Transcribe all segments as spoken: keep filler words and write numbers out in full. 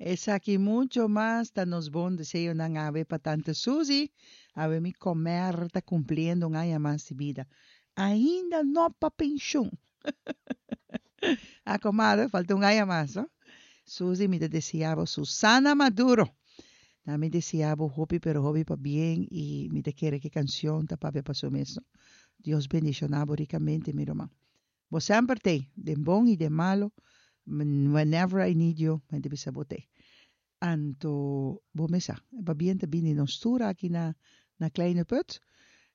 Esaki mucho mas ta nos bon deseonan awe pa Tante Suzy. Awe mi comer ta cumpliendo un aña mas di bida. Ainda no pa pensioen. A comadre, falta un aña mas, no? Suzy, mi ta desea bo Susana Maduro. Na mi desea bo hopi pero hopi pabien y mi ta kere cu e cancion ta papia pa su mes. Dios bendiciona bo ricamente, mi ruman. Bo semper t'ey, den bon y den malo, whenever I need you, mi ta bisa bo t'ey. Anto, bo mes sa, pabien ta bini nos tur aki na, na Kleine Put,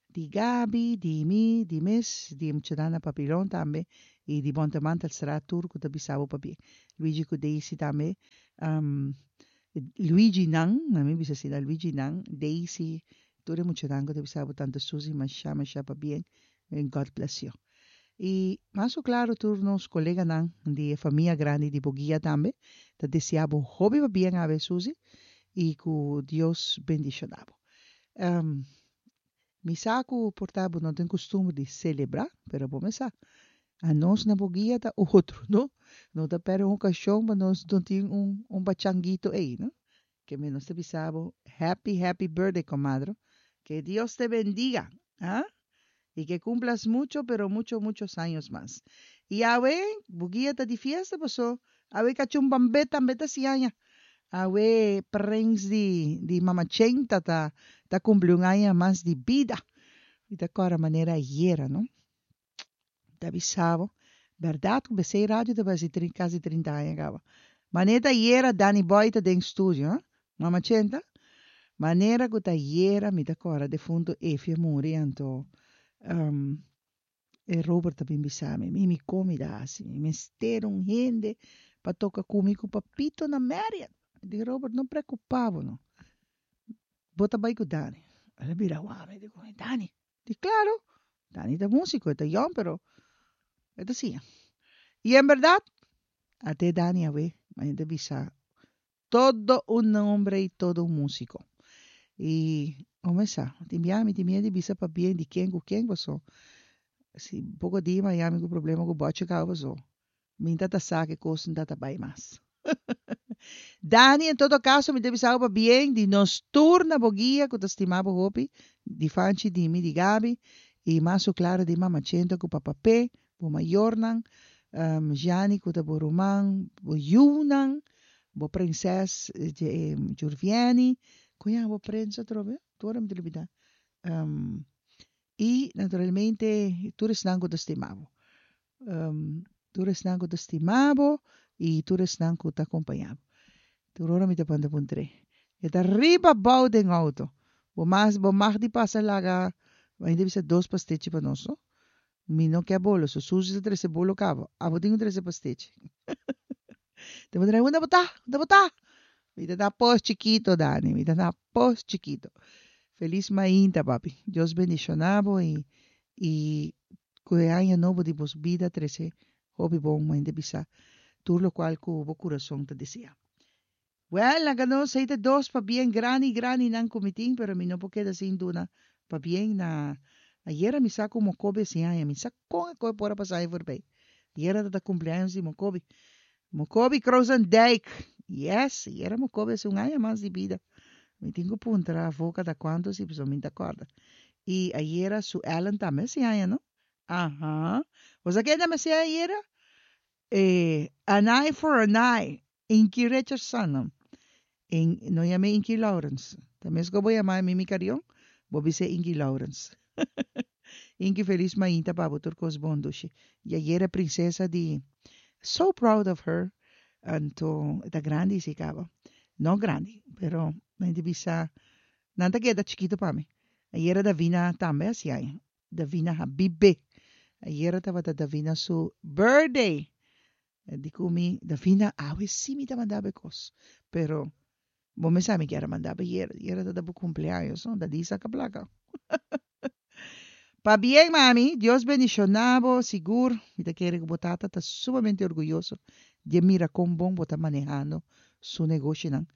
di Gabi, di mi, di Miss, di Mchadana Papillon tambe, y di Bontemantelstraat tur ku ta bisa bo pabien. Luigi ku Daisy tambe, um, Luigi nan, na mi bisa asina, Luigi nan, Daisy, tur e muchanan ku ta bisa bo Tante Suzy, masha, masha pabien, and God bless you. Y mas claro tur nos coleganan di famia grandi di Boguia tambe, ta desea bo hopi pabien awe, Suzy, y cu Dios bendiciona bo. Um, mi sa cu por ta bo no tin custumber di celebra, pero bo mes sa. Anos na Boguia ta otro, no? No ta perde un ocasion pa nos no tin un, un pachanguito ey, no? Ke men nos ta bisa bo, happy, happy birthday, comadre. Que Dios te bendiga, ¿ah? Y que cumplas mucho, pero mucho, muchos años más. Y awe, Boguia ta di fiesta, paso. Awe cachumbambe tambe ta haci aña. Awe prins di, di Mama Chenta ta, ta cumpli un aña mas di bida. Y ta corda manera ayera, no? Ta bisa bo. Berdad, cu B C Radio ta bay casi trinta aña caba. Manera ayera Danny Boy ta den studio, eh? Mama Chenta? Manera cu ta ayera mi ta corda defunto Efia muri, anto um, e Robert tambe bisa mi, mi mi comida asina, mi mester un hende pa toca cu mi cu Papito na Marriott. Di Robert, no preocupa bo, no. Bo ta bay cu Dani. El a bira wak mi, digo, Dani. Di claro, Dani ta musico, ta young, pero e ta asina. Y en berdad, ata Dani awe, ainda bisa, todo un hombre y todo un músico. Y, como sa, tin mi tin miedo di bisa pabien di ken cu ken paso. Si poco dia Miami cu problema cu boche cabo so. Mi tata sa cu cos no ta bay mas. Dani, en todo caso, mi ta bisa pabien di nos tur na Boguia, cu ta stima bo hopi, di Fanchi, di mi, di Gabi, y mas claro di Mama Chento cu Papa P, bo mayornan, um, Gianni cu ta bo ruman, bo yiunan, bo prinses eh, Jurviani, con bo prins atrobe, tur mi ta lubida. Um, y, naturalmente, tur esnan cu ta stima bo. Um, tur esnan cu ta stima bo y tur esnan cu ta acompaña bo. Tur ora mi ta panda puntre. E ta riba bou den auto. Bo mas bo mag di pasa laga, ainda bisa dos pastechi pa nos, no? Mi no kier bolo, so Suzy ta trece bolo caba. Abo tin trece pastechi. Te puntre, unda bo ta? Unda bo ta? Mi ta na Pos Chikito, Dani. Mi ta na Pos Chikito. Feliz mainta, papi. Dios bendiciona bo y y cu e aña nobo di bo bida trece hopi bon, ainda bisa tur locual cu bo curason ta desea. Well, laga nos ta dos pabien grandi grandi nan cu mi tin, pero mi no por keda sin duna pabien na ayera mi sa cu Mokobe haci aña, mi sa con e por a pasa voorbij. Ayera ta cumpleaños di Mokobe. Mokobe Krozendijk. Yes, ayera Mokobe haci un aña mas di bida. Mi tin cu puntra avoca da cuanto si so mi ta corda. Y ayera su Ellen tambe haci aña, no? Aha. Bo ken tambe haci ayera? Eh, an eye for an eye. Inky Richardson. In, no yam'e Inky Lawrence. Tambe cu bo yama Mimi Carion, bo bisa Inky Lawrence. Inky, feliz mainta pa bo, tur cos bon, dushi. Y ayera princesa di so proud of her. Anto, ta grandi si caba. No grandi, pero mi bisa nan ta keda chikito pa mi. Ayera Davina tambe haci aña. Davina Habibe. Ayera tabata Davina su birthday. Di cu mi, Davina, awe si mi ta manda bo cos. Pero, bo mes sa mi kier a manda bo ayera. Ayera ta bo cumpleaños, no? Da di saca placa. Pabien, mami. Dios bendiciona bo, sigur. Mi ta kere cu bo tata ta sumamente orguyoso di mira con bon bo ta manehando su negoshinan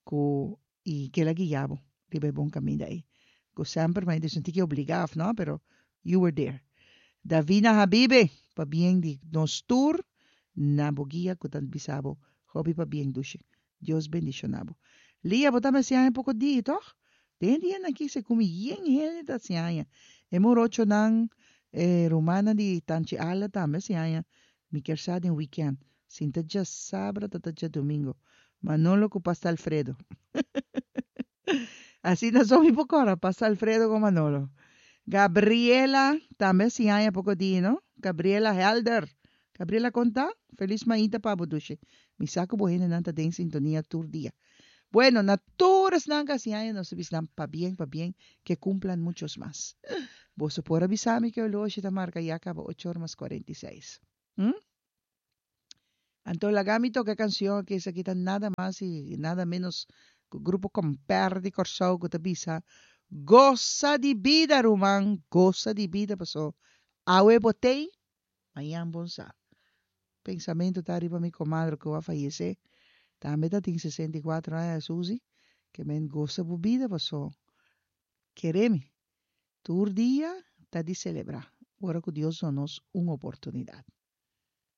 cu y cu el a guia bo riba bon caminda ey. Cu semper mi a sinti cu obliga, no? Pero you were there. Davina Habibe, pabien di nos tur na Boguia cu ta bisa bo hopi pabien, dushi. Dios bendishoná bo. Lia, bo tambe hasi aña poko dia, tòg? Den dianan aki se kumi yen hende ta hasi aña. E morochonan, e rumannan di Tanchi Ala tambe hasi aña. Mi kier sa den weekend. Sinta djasabra ta ta djadumingu. Manolo ku Pasta Alfredo. Asina so mi por kòrda, Pasta Alfredo ku Manolo. Gabriela tambe hasi aña poko dia, no? Gabriela Helder. Gabriela kon ta? Felis mainta pa bo dushi. Mi sa ku bo hendenan ta den sintonia tur dia. Bueno, na tur esnan ku hasi aña nos ta bisa nan pabien pabien ke kumplan muchos mas. Boso por a bisa mi ke oloshi ta marka ya kaba ocho or mas kuarenta i seis. Hm? Anto laga mi toka e kanshon aki, esaki ta nada mas i nada menos ku Grupo Komper di Kòrsou ku ta bisa, Gosa di bida ruman, gosa di bida paso awe bo tei, mañan bon sa. Pensamentu ta riba mi komadre ku a fayesé, tambe ta tin sesenta i kuater aña, Suzy, ke men gosa bo bida paso kere mi, tur dia ta di selebrá ora ku Dios duna nos un oportunidat.